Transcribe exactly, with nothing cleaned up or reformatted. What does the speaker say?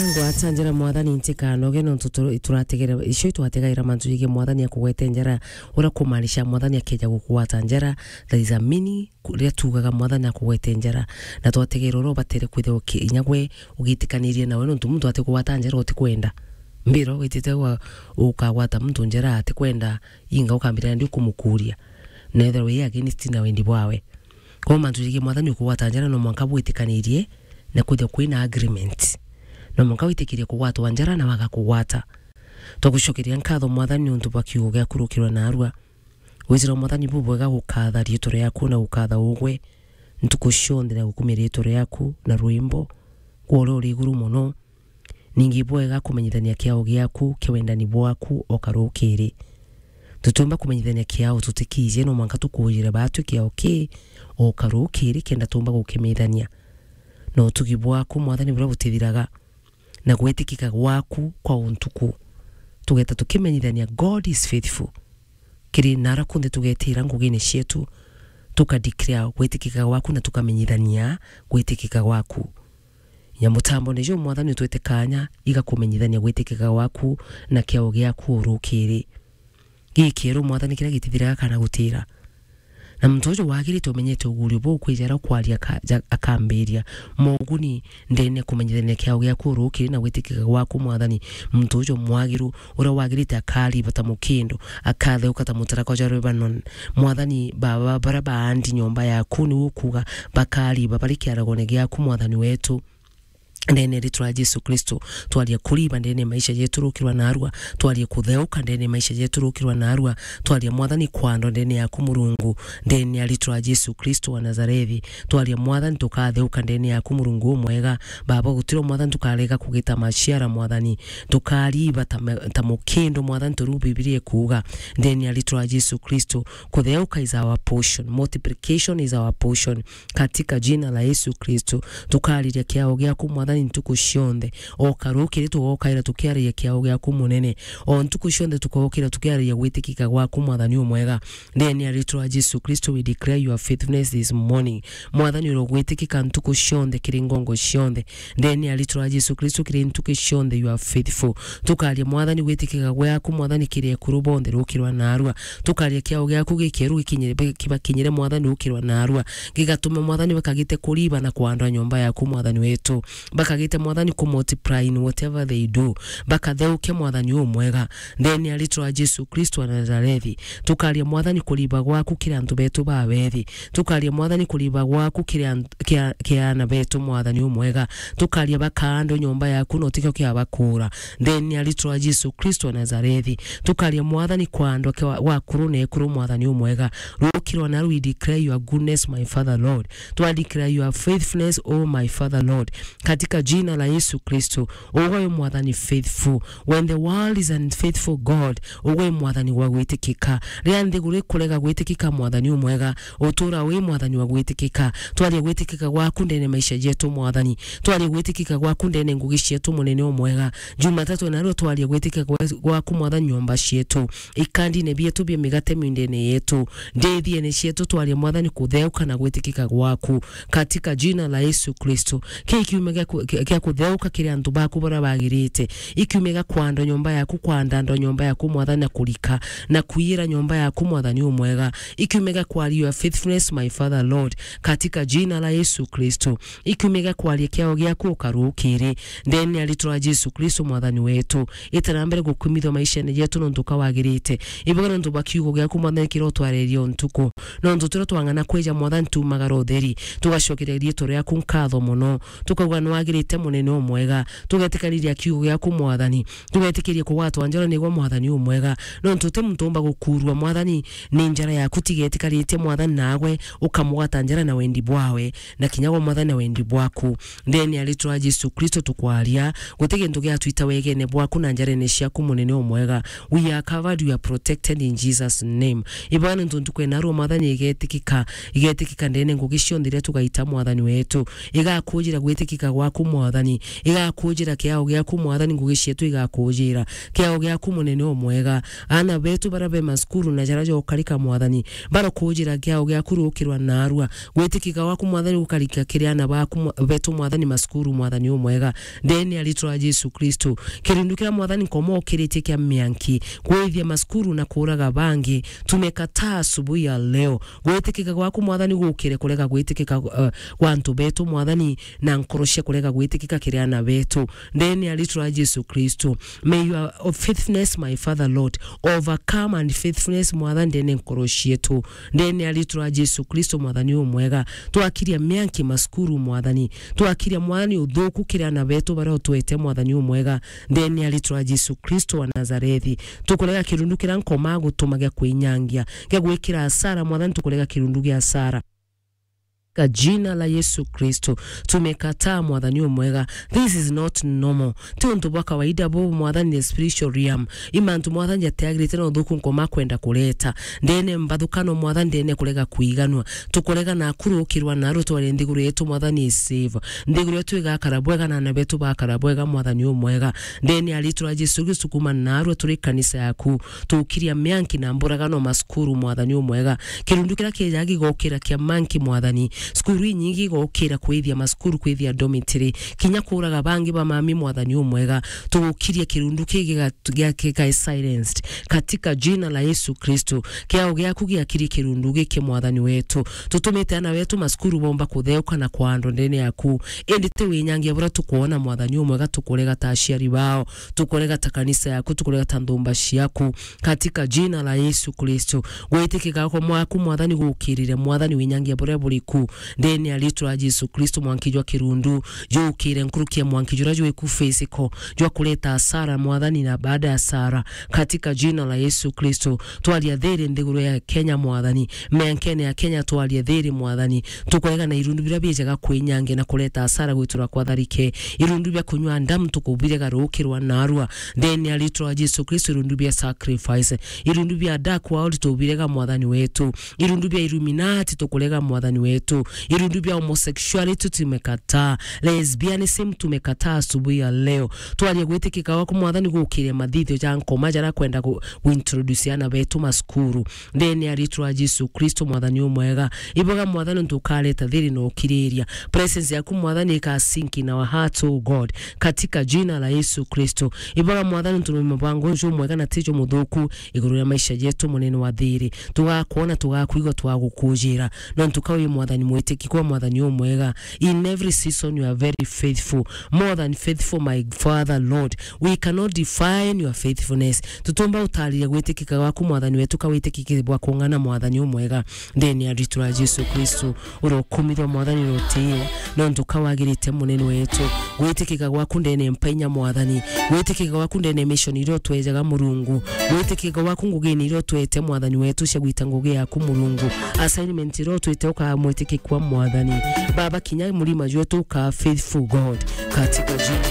Ngwata njara, Mwathani, ntikanoge, nontu tu-, turategera, icio itwategaira mantu jigi Mwathani akugwete njara, uria kumaanisha Mwathani akeja gukugwata njara, there is a meaning, ku-, riria tuugaga Mwathani akugwete njara, na twategera uria ubatere kwithirwa uki-, inya gwe ugitikanirie nawe, nontu muntu atikugwata njara utikwenda. Mbira witite wa-, ukagwata muntu njara atikwenda, inga ukambira ndi kumukuria. Nethirwa wi against na wendi bwawe. Kwou mantu jigi Mwathani ukugwata njara no mwanka bwitikanirie na kwithirwa kwina agreement. No mwanka witikirie kugwatwa njara na waga kugwata. Twagucokeria nkatho Mwathani niuntu bwa kiugo giaku rukirwa narua. Withirwa Mwathani bubwega gukatha riitwa riaku na gukatha ugwe ntuku cionthe na gukumia riitwa riaku na rwimbo gwa uria uri iguru mono. Ningi bwega kumenyithania kiao giaku kia wendani bwaku o karukiri. Tutiumba kumenyithania kiao tutikiijie, no mwanka tukuujire baatwi kiao ki o karukiri kenda tuumba gukimenyithania. Na utugi bwaku, Mwathani, buria butithiraga, na gwitikika gwaku kwa untuku. Tugeta tukimenyithania, God is faithful. Kiri nara kunthe tugetira ngugine cietu, tuka declare gwitikika gwaku na tukamenyithania gwitikika gwaku. Nya mutambo ni ju, Mwathani, utwite kanya igakumenyithania gwitikika gwaku na kiao giaku urukiri. Gikieru, Mwathani, kiria gitithiraga kana gutira. Na muntu uju wagirite umenyete ugurio buu kwija aria ukwaria aka-, ja-, akambiria moguni ndene kumenyithania kiao giaku urukiri na gwitikika gwaku, Mwathani. Muntu uju mwagiru uria wagirite akariba ta mukindo, akatheuka ta mutaraka jwa Lebanon. Mwathani, baba baria baandi nyomba yaku, niwe ukuga bakariba bari kiaragone giaku, Mwathani wetu. Ndene ya ritwa ria Jesu Kristo, twaria kuriba ndene ya maisha jetu rukirwa narua, twaria kutheuka ndene ya maisha jetu rukirwa narua, twaria, Mwathani, kwandwa ndene yaku, Murungu, ndene ya ritwa ria Jesu Kristo wa Nazarethi, twaria, Mwathani, tukatheuka ndene yaku, Murungu umwega. Baba, gutiro, Mwathani, tukarega kugita maciara, Mwathani, tukariba ta ma-, ta mukindo, Mwathani, turu Bibilia ikuuga, ndene ya ritwa ria Jesu Kristo, kutheuka is our portion, multiplication is our portion. Katika jina la Yesu Kristo, tukariria kiao giaku, Mwathani, ntuku cionthe. O karukiri tugokaira tukiariria kiao giaku munene. O ntuku cionthe tukokira tukiariria gwitikika gwaku, Mwathani umwega. Ndene ya ritwa ria Jesu Kristo, we declare your faithfulness this morning. Mwathani, urogwitikika ntuku cionthe kiri ngongo cionthe. Ndene ya ritwa ria Jesu Kristo, kiri ntuku cionthe you are faithful. Tukaria, Mwathani, gwitikika gwaku, Mwathani, kiri ekuru bonthe rukirwa narua. Tukaria kiao giaku gikieru gikinyire, kibakinyire, Mwathani, rukirwa narua. Gigatume, Mwathani, bakagite kuriba na kwandwa nyomba yaku, Mwathani wetu. Bakagite, Mwathani, ku multiply in whatever they do. Bakatheuke, Mwathani umwega. Ndene ya ritwa ria Jesu Kristo wa Nazarethi. Tukaria, Mwathani, kuriba gwaku kiri antu betu bawethi. Tukaria, Mwathani, kuriba gwaku kiri an-, kia-, kia ana betu, Mwathani umwega. Tukaria bakaandwa nyomba yaku na utikio kia bakura. Ndene ya ritwa ria Jesu Kristo wa Nazarethi. Tukaria, Mwathani, kwandwa kia wa-, wakuru na ekuru, Mwathani umwega. Rukirwa na we declare your goodness, my Father Lord. Twa declare your faithfulness, oh my Father Lord. Katika jina la Yesu Kristo, ugwe wi Mwathani faithful. When the world is unfaithful, God, ugwe wi Mwathani wa gwitikika. Riria nthiguru ikurega gwitikika, Mwathani umwega, utura wi Mwathani wa gwitikika. Twaria gwitikika gwaku ndene maisha jetu, Mwathani. Twaria gwitikika gwaku ndene ngugi cietu, munene umwega. Jumatatu nario twaria gwitikika gwa-, gwaku, Mwathani, nyomba cietu. Ikandine bietu bia migate mindene yetu. Ndithiene cietu twaria, Mwathani, kutheuka na gwitikika gwaku. Katika jina la Yesu Kristo. Ki kiume gia ku-, gia, gia kutheuka kiri antu baku baria bagirite. Ikiume gia kwandwa nyomba yaku, kwandandwa nyomba yaku, Mwathani, na kurika, na kuiyira nyomba yaku, Mwathani umwega. Ikiume gia kwaria your faithfulness, my Father Lord. Katika jina la Yesu Kristo. Ikiume gia kwaria kiao giaku ukarukiri. Ndene ya ritwa ria Jesu Kristo, Mwathani wetu. Ita na mbere gukumithwa maishene jetu nontu ka wagirite. Ibuga nontu bwa kiugo giaku, Mwathani, kiria utwarerie o ntuku. Nontu turia twang'ana kwija, Mwathani, tumagara utheri. Tugacokeria riitwa riaku nkatho mono. Tukauga, "Nwagirite, munene umwega." Tugetikaniria kiugo giaku, Mwathani. Tugetikiria kugwatwa njara nigwe, Mwathani umwega. Nontu uti muntu umba gukurua, Mwathani, ni njara yaku tigetikaritie, Mwathani, nagwe ukamugwata njara na wendi bwawe, na kinya gwa, Mwathani, na wendi bwaku. Ndene ya ritwa ria Jesu Kristo tukwaria, guti gintu giatwita wegene bwaku na njarene ciaku, munene umwega. We are covered, we are protected in Jesus' name. Ibaga nontu ntuku ena rua, Mwathani, igetikika, igetikika ndene ngugi cionthe iria tugaita, Mwathani wetu. Igakujira gwitikika gwaku, giaku, Mwathani. Igakujira kiao giaku, Mwathani, ngugi cietu igakujira. Kiao giaku, Munene umwega. Aana betu bara be masukuru na jara jokarika, Mwathani, barokujira kiao giaku rukirwa narua. Gwitikika gwaku, Mwathani, gukarika kiri aana baku, Mwa-, betu, Mwathani, masukuru, Mwathani umwega. Ndene ya ritwa ria Jesu Kristo. Kirundu kiria, Mwathani, nkomokiritie kia mianki, kwithia masukuru na kuraga bangi, tumekataa asubuhi ya leo. Gwitikika gwaku, Mwathani, gukire kurega gwitikika, uh, gwa antu betu, Mwathani, na nkoro cia kurega gwitikika kiri aana betu. Ndene ya ritwa ria Jesu Kristo. May your faithfulness, my Father Lord, overcome and faithfulness, Mwathani, ndene nkoro cietu. Ndene ya ritwa ria Jesu Kristo, Mwathani umwega. Twakiria mianki masukuru, Mwathani. Twakiria, Mwathani, uthuku kiri aana betu baria utwete, Mwathani umwega. Ndene ya ritwa ria Jesu Kristo wa Nazarethi. Tukurega kirundu kiria nkoma gutuma gia kwinyangia, gia gwikira asara, Mwathani, tukurega kirundu gia asara. Ka jina la Yesu Kristo, tumekataa, Mwathani umwega. This is not normal. Ti untu bwa kawaida bu, Mwathani, the spiritual realm. I mantu, Mwathani, jatiagirite na uthuku nkoma kwenda kureta. Ndene mbathukano, Mwathani, ndene kurega kwiganua. Tukurega na kurukirwa na rutware nthiguru yetu, Mwathani, i save. Nthiguru yetu igakara bwega na aana betu bakara bwega, Mwathani umwega. Ndene ya ritwa ria Jesu Kristo, kuma narua turi kanisa yaku. Tukiria mianki na mburagano masukuru, Mwathani umwega. Kirundu kiria kijaga gigokira kia manki, Mwathani. Cukuru inyingi igokira kwithia masukuru, kwithia dormitory. Kinya kuraga bangi ba mami, Mwathani umwega. Tugukiria kirundu ki giga-, gia-, gikae silenced. Katika jina la Yesu Kristo. Kiao giaku giakiri kirundu giki, Mwathani wetu. Tutumite aana betu masukuru bomba kutheuka na kwandwa ndene yaku. Indi ti winyangia buria tukwona, Mwathani umwega, tukurega ta aciari bao. Tukurega ta kanisa yaku, tukurega ta nthumba ciaku. Katika jina la Yesu Kristo. Gwitikika kwa mwaku, Mwathani, gukirire, Mwathani, winyangia buria buriku. Ndene ya ritwa ria Jesu Kristo, mwanki jwa kirundu, jukire nkuruki ya mwanki juria jwiku physical, jwa kureta asara, Mwathani, na baada ya asara. Katika jina la Yesu Kristo, twaria thiri nthiguru ya Kenya, Mwathani. Miankene ya Kenya, twaria thiri, Mwathani. Tukurega na irundu biria bijaga kwinyangia na kureta asara gwitura kwa tharike. Irundu bia kunywa ndamu tukubirega rukirwa narua. Ndene ya ritwa ria Jesu Kristo, irundu bia sacrifice. Irundu bia dark world tubirega, Mwathani wetu. Irundu bia Illuminati tukurega, Mwathani wetu. Irundu bia homosexuality tumekataa. Lesbianism tumekataa asubuhi ya leo. Twaria gwitikika gwaku, Mwathani, gukire mathithio ja nkoma jara kwenda gu-, guintroduce aana betu masukuru. Ndene ya ritwa ria Jesu Kristo, Mwathani umwega. Iboga, Mwathani, ntukareta thiri na ukiriria. Presence yaku, Mwathani, ika sink in our hearts, oh God. Katika jina la Yesu Kristo. Iboga, Mwathani, ntume mubango uju mwega na tijo muthuku iguru ria maisha jetu, munene wa thiri. Tugakwona, tugakwigua, twagukujira. Nontu ka wi Mwathani mwitiki kwa Mwathani umwega. In every season you are very faithful. More than faithful, my Father, Lord. We cannot define your faithfulness. Tutumba utariria gwitikika gwaku, Mwathani wetu, ka witikiki bwa kung'ana, Mwathani umwega. Ndene ya ritwa ria Jesu Kristo, urokumithwa, Mwathani, urotio, nontu ka wagirite, munene wetu. Gwitikika gwaku ndene mpainya, Mwathani. Gwitikika gwaku ndene mission iria utwejaga, Murungu. Gwitikika gwaku ngugini iria utwete, Mwathani wetu, cia gwita ngugi yaku, Murungu. Assignment iria utwite ukamwitikikwa, Mwathani. Baba, kinya murima jwetu uka faithful God. Katika jina